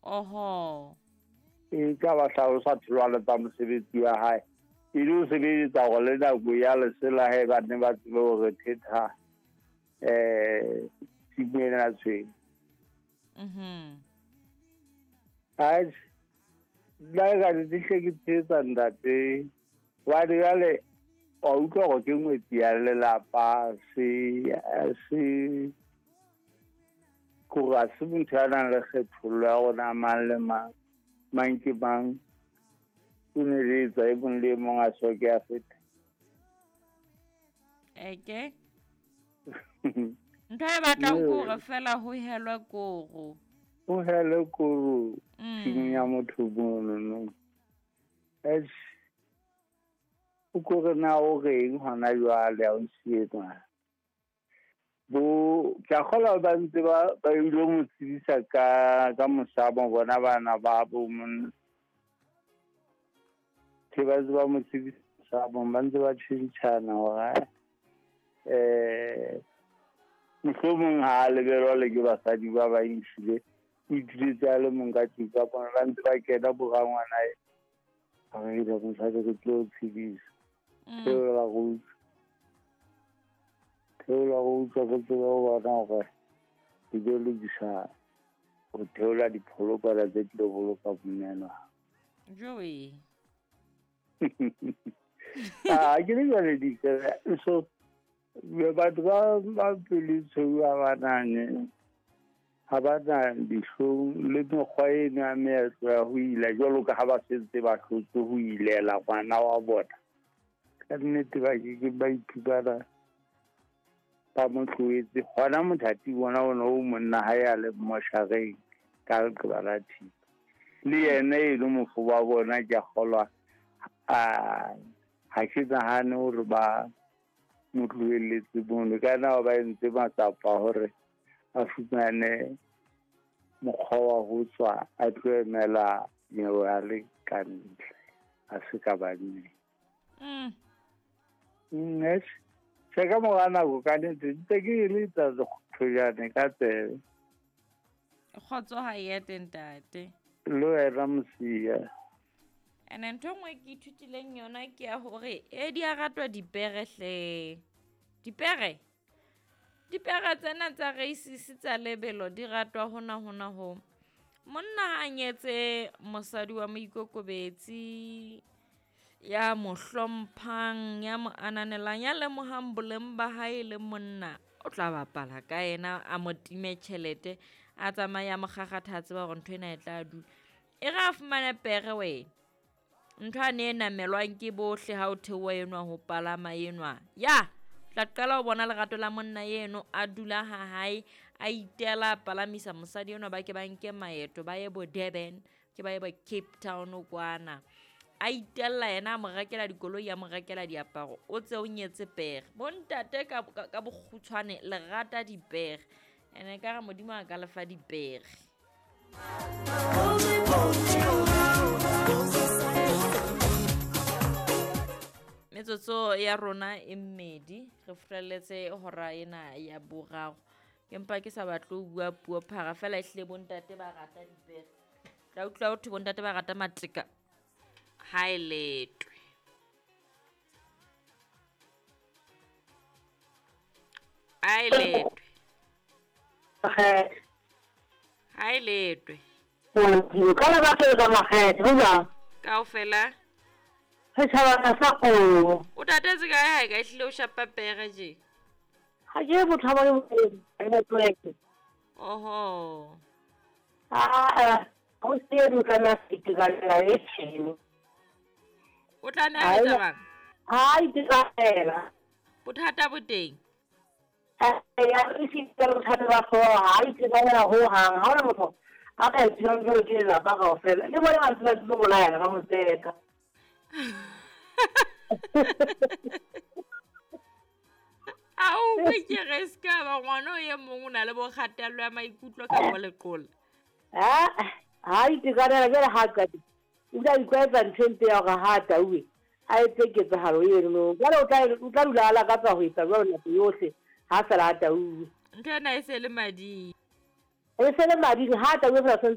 Oho. E ka ba hlalosa tholwana tsa mosebetsi wa hae. E le ho sebeletsa hore le nako ya lesela he ba ne ba tsebe hore thetha tshimo ena tshweu. Atjhe, nna e ka ke hle ke tshehetsa ntate. Hobane jwale wa utlwa hore ke ngwetsi ya lelapa se se kore ha se motho ya nang le kgethollo ya rona mang le mang, mang ke mang. O ne le etsa e mong le e mong a soke a feta. Eke. Ntho e batlang ke hore fela ho helwe koro. Ho helwe koro tshimong ya motho mono no. Eish. O kore na o reng hona jwale ha o nsietswa. Bo ke a kgolwa ba ntse ba ile mo tsebisa ka mosamo bona bana ba bo monna. Ke ba ntse ba mo tsebisa mosamo, ba ntse ba tjhentjhana hore mohlomong ha a lebelwa le ke basadi ba bang ehlile o ituletse a le mong ka tlung ka bona ba ntse ba kena borangwana e. Re ile mosadi re tlo tshedisa. Theola go utlwa. Theola go utlwa re tsebe ho bona hore re tlo lokisa ho theola dipholokwana tse tlilo boloka monna. Joey. Ah, ke le jwale di so batho ba pelo tshweu ha ba nane ha ba na dihlong le mekgwa eno ya meetlo ya ho ila jwalo ka ha ba sentse ba hlotse ho ilela ngwana wa bona. Ka nnete ba ke ba iphumana ba mo tlohetse hona mothati bona ona o monna ha ya le moshareng ka leqeba la thipa. Le yena e le mofo wa bona ke a kgolwa ha ke nahane hore ba mo tlohelletse mono. Ka na ba entse matsapa hore a fumane mokgwa wa ho tswa a tlo emela nyewe a le ka ntle a se ka banneng. Tjhe, ka mora nako ka nnete ntse ke e letsa thojane ka tsebe. Kgotso ha e ete ntate. Le wena Mosia. Ene ntho e nngwe ke ithutileng yona ke ya hore e di a ratwa dipere hle. Dipere? Dipere tsena tsa races tsa lebelo di ratwa hona hona ho. Monna ha a nyetse mosadi wa moikokobetsi ya mo hlomphang, ya mo ananelang, ya lemohang boleng ba hae le monna, o tla bapala ka yena a mo time tjhelete, a tsamaya a mo kgakgatha a tseba hore ntho ena e tla dula. E re a fumane pere wena. Ntho ane e namelwang ke bohle ha o theoha enwa ho palama enwa. Ya, tla qala ho bona lerato la monna eno a dula ha hae, a itela a palamisa mosadi enwa ba ke ba nke maeto ba ye bo Durban, ke ba ye bo Cape Town kwana. A itella yena a mo rekela dikoloi, a mo rekela diaparo, o tse o nyetse pere. Bontate ka bokgutshwane le rata dipere. Ene ka re Modimo a ka lefa dipere. Metsotso ya rona e mmedi re furaletse hora ena ya boraro. Ke mpa ke sa batle ho bua puo phara fela ehlile bontate ba rata dipere. Tla utlwa ho thwe bontate ba rata mateka. Ha e letwe. Ha e letwe. Ha e letwe. Ka la batho ba makgethe, ho jwang? Kaofela. Setjhaba sa kgomo. O tatetse kae ha e ka ehlile o shapa pere je? Ha ke motho wa le Oho. Ah, o se o tla itekanela e tshelo. O tla nna a etsa bang? Ha itekanela. Bothata bo teng. Ya re se ka bothata ba hlooho, ha itekanela ho hang. Ha hona motho a ka etsang jwalo ke lelapa kaofela. Le bona ba ntse ba tlo bolayana ba mo tseka. Ao ke re ska ba ngwana o e mong o na le bo kgatello ya maikutlo ka bo leqola. Ha itekanela jwale ha qete. O tla itlwaetsa ntho e mpe ya hore ha tauwe a etse ketsahalo eno. Jwale o tla dula a lakatsa ho etsa jwalo nako yohle ha fela a tauwe. Ntho ena e se le mading. E se le mading ha tauwe fela.